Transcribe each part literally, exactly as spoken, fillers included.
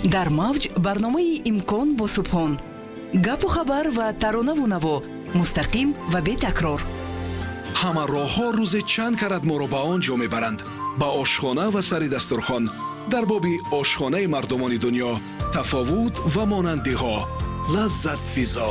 Дар мавҷ барномаи «Имкон» бо Субҳон. Гапу хабар ва таронаву наво, мустақим ва бетакрор. Ҳама роҳҳо рӯзе чанд карат моро ба он ҷо мебаранд, ба ошхона ва сари дастурхон. Дар боби ошхонаи мардумони дунё, тафовут ва монандиҳо. Лаззатфизо.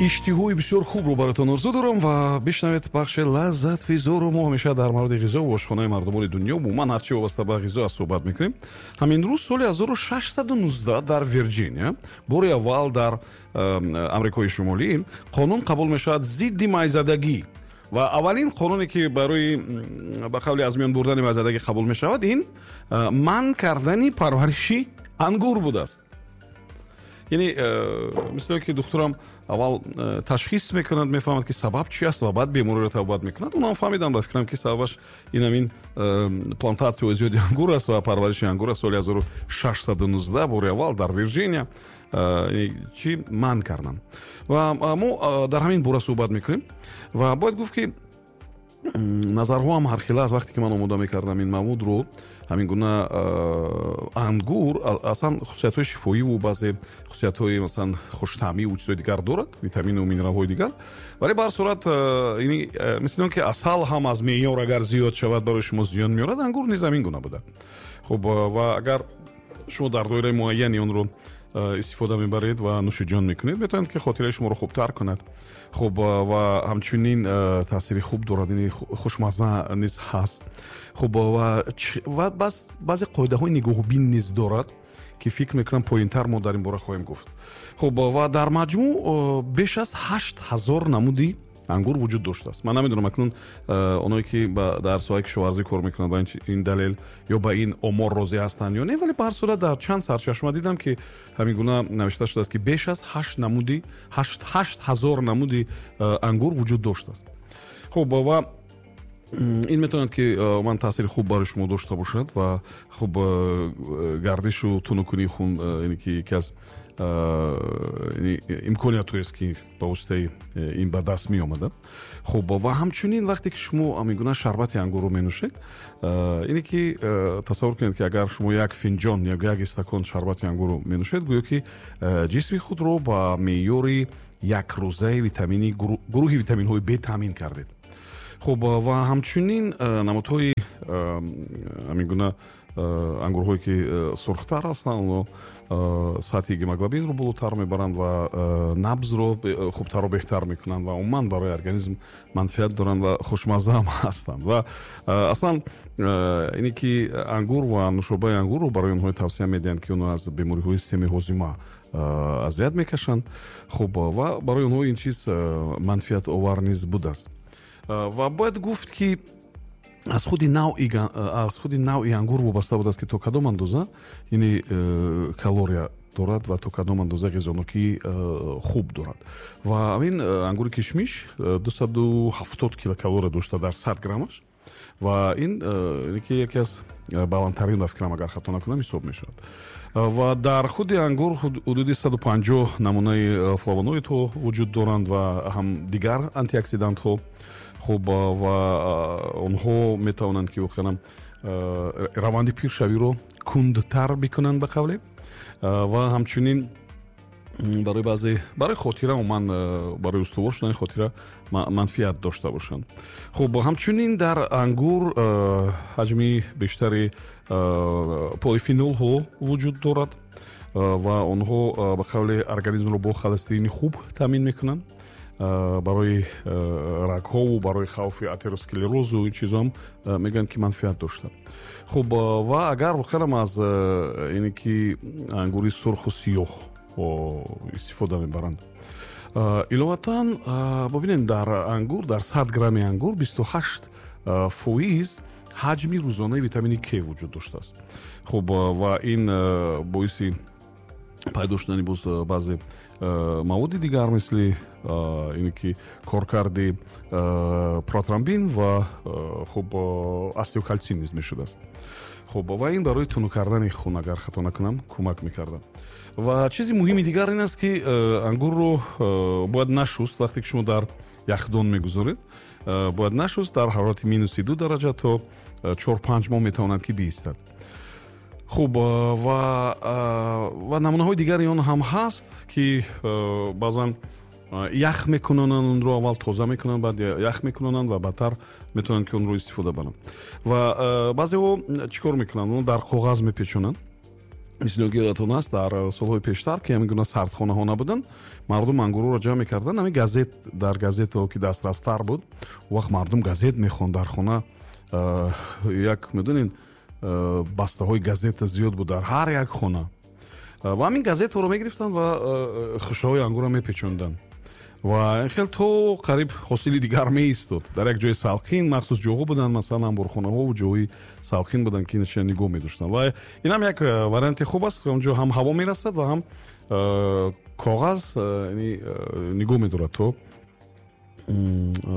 Иштиҳои бисёр хубро баротон орзу дорам ва бишнавед бахши «Лаззатфизоро». Мо ҳамеша дар мавриди ғизо ва ошхонаи мардумони дунё, умуман ҳарчи вобаста ба ғизо аст, суҳбат мекунем. Ҳамин рӯз, соли ҳазору шашсаду нуздаҳ, дар Вирҷиния бори аввал дар Амрикои Шумолӣ қонун қабул мешавад зидди майзадагӣ. Ва аввалин қонуне, ки барои, ба қавли, аз миён бурдани майзадагӣ қабул мешавад, ин манъ кардани парвариши ангур будааст. Яъне э, мисле ки духтурам аввал э, ташхис мекунад, мефаҳмад, ки сабаб чи аст, ва баъд бемориро табобат мекунад. Онам фаҳмидам, ба фикрам, ки сабабаш ин ҳамин э, плантатсияҳои зиёди ангур аст ва парвариши ангур аст. Соли ҳазору шашсаду нуздаҳ бори аввал дар Вирҷиния чӣ манъ карданд. Ва мо дар ҳамин бора суҳбат мекунем. Ва бояд гуфт, ки назарҳо ҳам ҳархела аст. Вақте ки ман омода мекардам ин маводро, ҳамин гуна ангур аслан хусусиятҳои шифоиву баъзе хусусиятҳои, масалан, хуштаъмиву чизҳои дигар дорад, витамину минералҳои дигар. Вале ба ҳар сурат, мисли он ки асал ҳам аз меъёр агар зиёд шавад, барои шумо зиён меорад, ангур низ ҳамин гуна буда. Хуб, ва агар шумо дар доираи муайяни онро истифода мебаред ва нӯшиҷон мекунед, метавонед, ки хотираи шуморо хубтар кунад. Хуб, ва ҳамчунин таъсири хуб дорад, ини хушмазза низ ҳаст. Хуб, ва баъзе қоидаҳои нигоҳубин низ дорад, ки фикр мекунам, поинтар мо дар ин бора хоҳем гуфт. Хуб, ва дар маҷмӯъ беш аз ҳашт ҳазор намуди ангур вуҷуд доштааст. Ман намедонам, акнун оное ки дар соҳаи кишоварзӣ кор мекунанд, ба ин далел ё ба ин омор розӣ ҳастанд ё не, вале ба ҳар сурат дар чанд сарчашма дидам, ки ҳамин гуна навишта шудааст, ки беш аз ҳашт намуди ҳашт ҳазор намуди ангур вуҷуд доштааст. Хуб, ва ин метавонад, ки ман таъсири хуб барои шумо дошта бошад. Ва хуб, гардишу тунукунии хун, ки яке аз имкониятҳоест, ки ба воситаи ин ба даст меомада. Хуб, ва ҳамчунин вақте ки шумо ҳамин гуна шарбати ангурро менӯшед, ине ки тасаввур кунед, ки агар шумо як финҷон ё як истакон шарбати ангурро менӯшед, гӯё ки ҷисми худро ба меъёри якрӯзаи витамини гурӯҳи витаминҳои Б таъмин кардед. Хуб, ва ҳамчунин намудҳои ҳамин гуна ангурҳое, ки сурхтар ҳастанд, онҳо сатҳи гемоглобинро болотар мебаранд ва набзро хубтару беҳтар мекунанд ва умуман барои организм манфиат доранд ва хушмазза ҳам ҳастанд. Ва аслан ине ки ангур ва нӯшобаи ангурро барои онҳое тавсия медиҳанд, ки онҳо аз бемориҳои системаи ҳозима азият мекашанд. Хуб, ва барои онҳо ин чиз манфиатовар низ будааст. Ва бояд гуфт, ки аз худи навъи аз худи навъи ангур вобаста будааст, ки то кадом андоза яъне э, калория дорад ва то кадом андоза ғизонокии э, хуб дорад. Ва ҳамин э, ангури кишмиш дусаду ҳафтод килокалория дошта дар сад граммаш. Ва ин ки яке аз баландтарин, ба фикрам, агар хато накунам, ҳисоб мешавад. Ва дар худи ангур ҳудуди саду панҷоҳ намунаи флавоноидҳо вуҷуд доранд ва ҳам дигар антиоксидантҳо. Хуб, ва онҳо метавонанд, ки воқеан раванди пиршавиро кундтар бикунанд, ба қавле. Ва ҳамчунин барои баъзе, барои хотира, умуман барои устувор шудани хотира манфиат дошта бошанд. Хуб, ҳамчунин дар ангур ҳаҷми бештари полифенолҳо вуҷуд дорад ва онҳо, ба қавле, организмро бо холестерини хуб таъмин мекунанд. Барои рагҳову барои хавфи атеросклерозу ин чизоам мегӯянд, ки манфиат дошта. Хуб, ва агар воқеан аз ине ки ангури сурху сиёҳ истифода мебаранд. Иловатан, бибинед, дар ангур, дар сад грамми ангур бисту ҳашт фоиз ҳаҷми рӯзонаи витамини К вуҷуд доштааст. Хуб, ва ин боиси пайдо шудани боз баъзе маводи дигар, мисли ине ки коркарди протромбин ва, хуб, остеокалсин низ мешудааст. Хуб, ва ин барои тунук кардани хун, агар хато накунам, кӯмак мекардад. Ва чизи муҳими дигар ин аст, ки ангурро бояд нашуст. Вақте ки шумо дар яхдон мегузоред, бояд нашуст. Дар ҳарорати минуси ду дараҷа то чор панҷ моҳ метавонад, ки биистад. Хуб, ва ва намунаҳои дигари он ҳам ҳаст, ки баъзан ях мекунанд, онро аввал тоза мекунанд, баъд ях мекунанд ва баъдтар метавонанд, ки онро истифода баранд. Ва баъзеҳо чӣ кор мекунанд? Онро дар коғаз мепечонанд. Мисли ки ёдатон аст, дар солҳои пештар, ки ҳамин гуна сардхонаҳо набуданд, мардум ангурро ҷамъ мекарданд. Ҳамин газет, дар газетҳо ки дастрастар буд, он вақт мардум газет мехонд дар хона. Як медонед, бастаҳои газета зиёд буд дар ҳар як хона. Ва ҳамин газетҳоро мегирифтанд ва хушаҳои ангурро мепечонданд. Ва ин хел то қариб ҳосили дигар меистод. Дар як ҷои салқин, махсус ҷоҳо буданд, масалан анборхонаҳо ва ҷоҳои салқин буданд, ки инча нигоҳ медоштанд. Ва ин ҳам як варианти хуб аст, онҷо ҳам ҳаво мерасад ва ҳам коғаз нигоҳ медорад то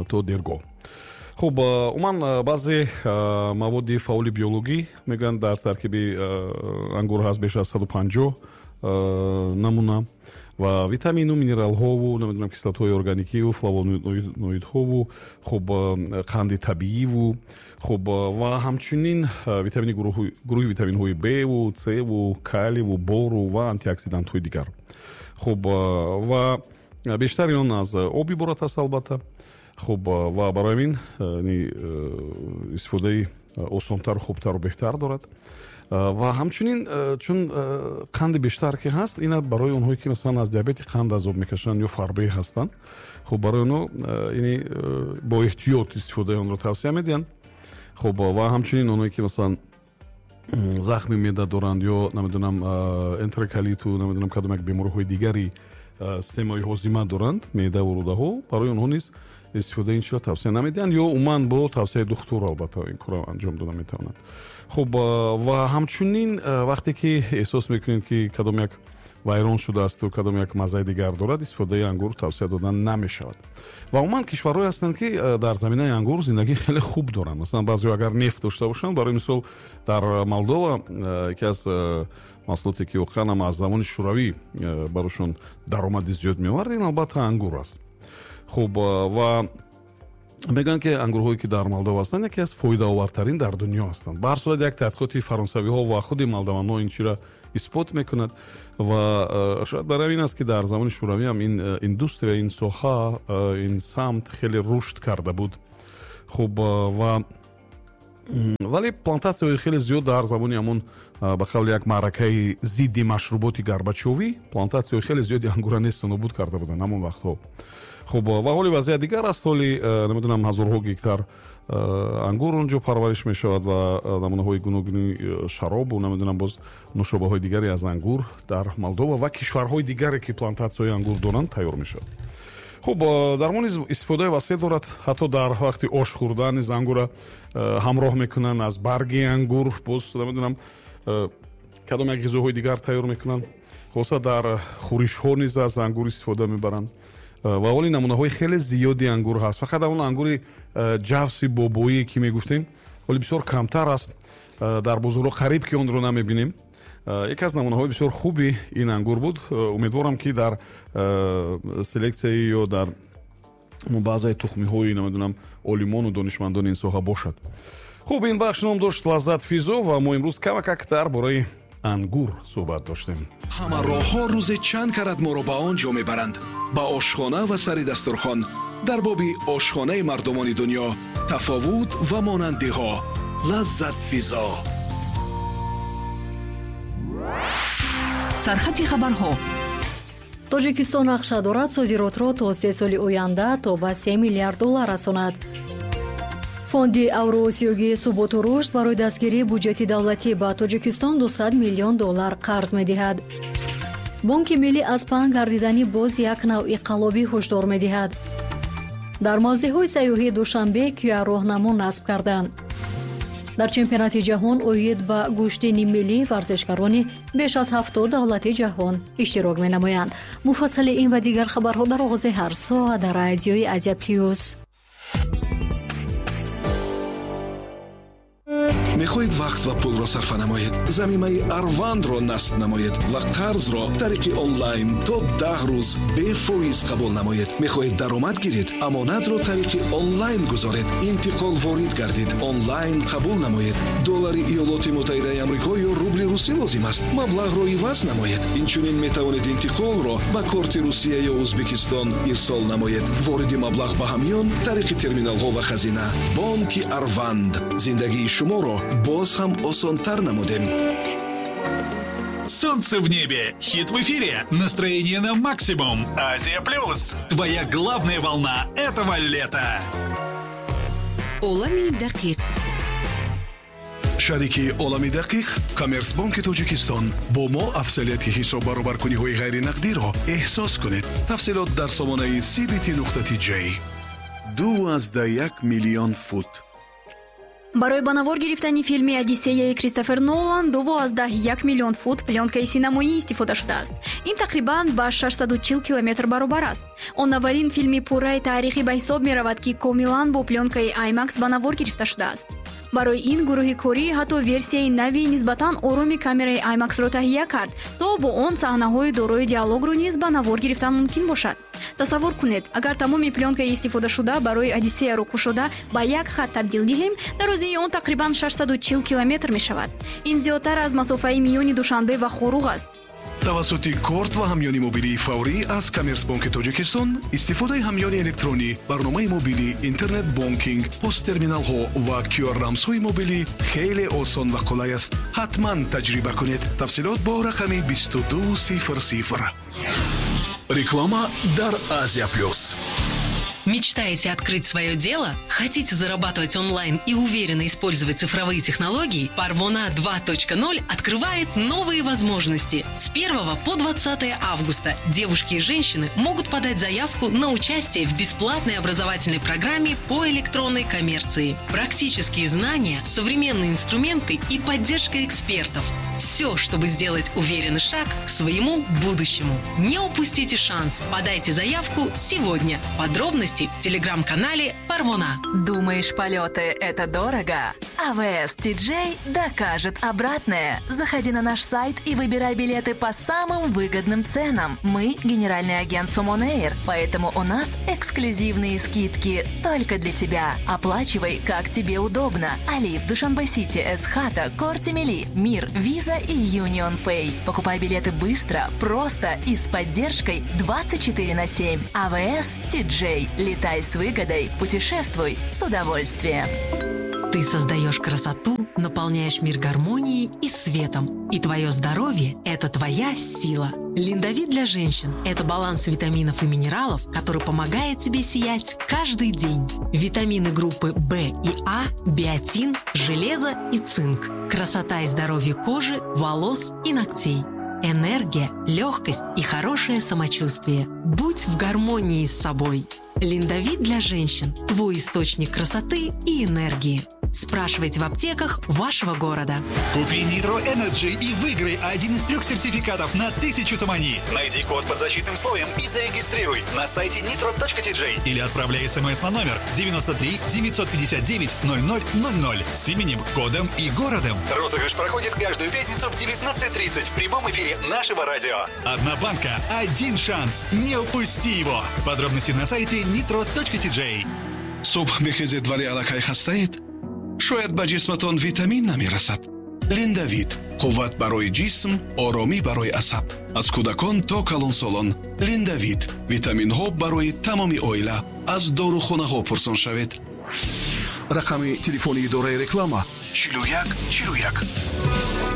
то дергоҳ. Хуб, умуман баъзе маводи фаъоли биологӣ мегӯянд дар таркиби ангур ҳаст беш аз саду панҷоҳ намуна ва витамину минералҳову намедонам кислотаҳои органикиву флавоноидҳову, хуб, қанди табииву, хуб, ва ҳамчунин витамини гурӯҳи витаминҳои Б-ву, С-ву, каливу, бору ва антиоксидантҳои дигар. Хуб, ва бештари он аз об иборат аст албатта. Хуб, ва барои ҳамин истифодаи осонтару хубтару беҳтар дорад. Ва ҳамчунин чун қанди бештар ки ҳаст, ина барои онҳое ки масалан аз диабети қанд азоб мекашанд ё фарбеҳ ҳастанд, хуб, барои онҳо ини бо эҳтиёт истифодаи онро тавсия медиҳанд. Хуб, ва ҳамчунин онҳое ки масалан захми меъда доранд ё намедонам энтероколиту намедонам кадом як бемориҳои дигари системаи ҳозима доранд, меъда ва рӯдаҳо, барои онҳо низ истифодаи ин чизро тавсия намедиҳанд ё умуман бо тавсияи духтур албатта ин корро анҷом дода метавонанд. Хуб, ва ҳамчунин вақте ки эҳсос мекунед, ки кадом як вайрон шудаасту кадом як маззаи дигар дорад, истифодаи ангур тавсия дода намешавад. Ва умуман кишварҳое ҳастанд, ки дар заминаи ангур зиндагии хеле хуб доранд. Масалан, баъзеҳо агар нефт дошта бошанд, барои мисол дар Молдова яке аз маҳсулоте ки воқеан ҳам аз замони шӯравӣ барошон даромади зиёд меовард, ин албатта ангур аст. Хуб, ва мегӯянд, ки ангурҳое ки дар Молдова ҳастанд, яке аз фоидаовартарин дар дунё ҳастанд. Ба ҳар сурат як таҳқиқоти фаронсавиҳо ва худи молдаванҳо ин чиро исбот мекунад ва шояд барои ин аст, ки дар замони шӯравӣ ҳам ин индустрия, ин соҳа, ин самт хеле рушд карда буд. Хуб, ва вале плантатсияҳои хеле зиёд дар замони ҳамон ба қавли як маъракаи зидди машруботи Горбачёвӣ плантатсияҳои хеле зиёди ангура несту нобуд карда буданд ҳамон вақтҳо. Хуб, ва ҳоли вазъият дигар аст. Ҳоли намедонам ҳазорҳо гектар ангур онҷо парвариш мешавад ва намунаҳои гуногуни шаробу намедонам боз нӯшобаҳои дигаре аз ангур дар Молдова ва кишварҳои дигаре ки плантатсияҳои ангур доранд тайёр мешавад. Хуб, дармон низ истифодаи васеъ дорад. Ҳатто дар вақти ош хӯрдан низ ангурра ҳамроҳ мекунанд, аз барги ангур боз намедонам кадом як ғизоҳои дигар тайёр мекунанд. Хулоса дар хӯришҳо низ аз ангур истифода мебаранд. Ва ҳоли намунаҳои хеле зиёди ангур ҳаст. Фақат он ангури ҷавси бобоие ки мегуфтем, ҳоли бисёр камтар аст. Дар бозорҳо қариб ки онро намебинем. Яке аз намунаҳои бисёр хуби ин ангур буд. Умедворам, ки дар селексияи ё дар баъзаи тухмиҳои намедонам олимону донишмандони ин соҳа бошад. Хуб, ин бахш ном дошт Лаззат Физо ва мо имрӯз камакак дар бораи ангур суҳбат доштем. Ҳама роҳҳо рӯзе чанд карат моро ба он ҷо мебаранд, ба ошхона ва сари дастурхон. Дар боби ошхонаи мардумони дунё, тафовут ва монандиҳо. Лаззат Физо. Сархати хабарҳо. Тоҷикистон нақша дорад содиротро то се соли оянда то ба се миллиард доллар расонад. Фонди Авроосиёгии суботу рушд барои дастгирии буҷети давлатӣ ба Тоҷикистон дусад миллион доллар қарз медиҳад. Бонки миллӣ аз паҳн гардидани боз як навъи қаллобӣ ҳушдор медиҳад. Дар мавзеъҳои сайёҳии Душанбе Q R роҳнамо насб карданд. Дар чемпионати ҷаҳон оид ба гӯштини миллӣ варзишгарони беш аз ҳафтод давлати ҷаҳон иштирок менамоянд. Муфассали ин ва дигар хабарҳо дар оғози ҳар соат дар радиои Азия Плюс. Мехоҳед вақт ва пулро сарфа намоед? Замимаи Арвандро насб намоед ва қарзро тариқи онлайн то даҳ рӯз бефоиз қабул намоед. Мехоҳед даромад гиред? Амонатро тариқи онлайн гузоред. Интиқол ворид гардид. Онлайн қабул намоед. Доллари Иёлоти Муттаҳидаи Амрико ё рубли русӣ лозим аст, маблағро иваз намоед. Инчунин метавонед интиқолро ба корти Русия ё Ӯзбекистон ирсол намоед. Вориди маблағ ба ҳамён тариқи терминалҳо ва хазина. Бонки Арванд. Зиндагии шуморо боз ҳам осонтар намудем. Солнце в небе, хит в эфире, настроение на максимум. Азия Плюс. Твоя главная волна этого лета. Олами дақиқ. Шарики Олами дақиқ Коммерсбонки Тоҷикистон. Бо мо афзалияти ҳисоб баробаркуниҳои ғайринақдиро эҳсос кунед. Тафсилот дар сомонаи C B T нуқта T J. Ду азда як миллион фут. Барои ба навор гирифтани филми «Одиссеяи» Кристофер Нолан дуву аздаҳ як миллион фут плёнкаи синамоӣ истифода шудааст. Ин тақрибан ба шашсаду чил километр баробар аст. Он аввалин филми пурраи таърихӣ ба ҳисоб меравад, ки комилан бо плёнкаи IMAX ба навор гирифта шудааст. Барои ин гурӯҳи корӣ ҳатто версияи нави нисбатан ороми камераи IMAX-ро таҳия кард, то бо он саҳнаҳои дорои диалогро низ ба навор гирифтан мумкин бошад. Тасаввур кунед, агар тамоми плёнкаи истифодашуда барои «Одиссеяро» кушода ба як хат табдил диҳем, дарозии он тақрибан шашсаду чил километр мешавад. Ин зиёдтар аз масофаи миёни Душанбе ва Хоруғ аст. Тавассути корт ва ҳамёни мобилии фаврӣ аз Коммерсбонки Тоҷикистон истифодаи ҳамёни электронӣ, барномаи мобилӣ, интернет бонкинг, посттерминалҳо ва Q R рамзҳои мобилӣ хеле осон ва қулай аст. Ҳатман таҷриба кунед. Тафсилот бо рақами бисту ду сифр сифр. Реклама дар Азия Плюс. Мечтаете открыть свое дело? Хотите зарабатывать онлайн и уверенно использовать цифровые технологии? Парвона два ноль открывает новые возможности. С первого по двадцатое августа девушки и женщины могут подать заявку на участие в бесплатной образовательной программе по электронной коммерции. Практические знания, современные инструменты и поддержка экспертов. Все, чтобы сделать уверенный шаг к своему будущему. Не упустите шанс. Подайте заявку сегодня. Подробности в телеграм-канале Парвона. Думаешь, полеты – это дорого? А В С T J докажет обратное. Заходи на наш сайт и выбирай билеты по самым выгодным ценам. Мы – генеральный агент Сомон Эйр, поэтому у нас эксклюзивные скидки только для тебя. Оплачивай, как тебе удобно. Алиф, Душанбе Сити, Эсхата, Корти Мили, Мир, Виза и Union Pay. Покупай билеты быстро, просто и с поддержкой двадцать четыре на семь. А В С T J. Летай с выгодой, путешествуй с удовольствием. Ты создаешь красоту, наполняешь мир гармонией и светом. И твое здоровье – это твоя сила. Линдовит для женщин – это баланс витаминов и минералов, который помогает тебе сиять каждый день. Витамины группы В и А, биотин, железо и цинк. Красота и здоровье кожи, волос и ногтей. Энергия, легкость и хорошее самочувствие. Будь в гармонии с собой. Линдовит для женщин – твой источник красоты и энергии. Спрашивайте в аптеках вашего города. Купи Nitro Energy и выиграй один из трех сертификатов на тысячу сомони. Найди код под защитным слоем и зарегистрируй на сайте nitro точка T J или отправляй смс на номер девяносто три девятьсот пятьдесят девять ноль ноль ноль ноль с именем, кодом и городом. Розыгрыш проходит каждую пятницу в девятнадцать тридцать в прямом эфире нашего радио. Одна банка, один шанс. Не упусти его. Подробности на сайте nitro точка T J. Субҳ мехезед, вале аллакай хастаед? Шояд ба ҷисматон витамин намерасад. Линдавит: қувват барои ҷисм, оромӣ барои асаб. Аз кӯдакон то калонсолон. Линдавит: витаминҳо барои тамоми оила. Аз дорухонаҳо пурсон шавед. Рақами телефони идораи реклама чилу як чилу як.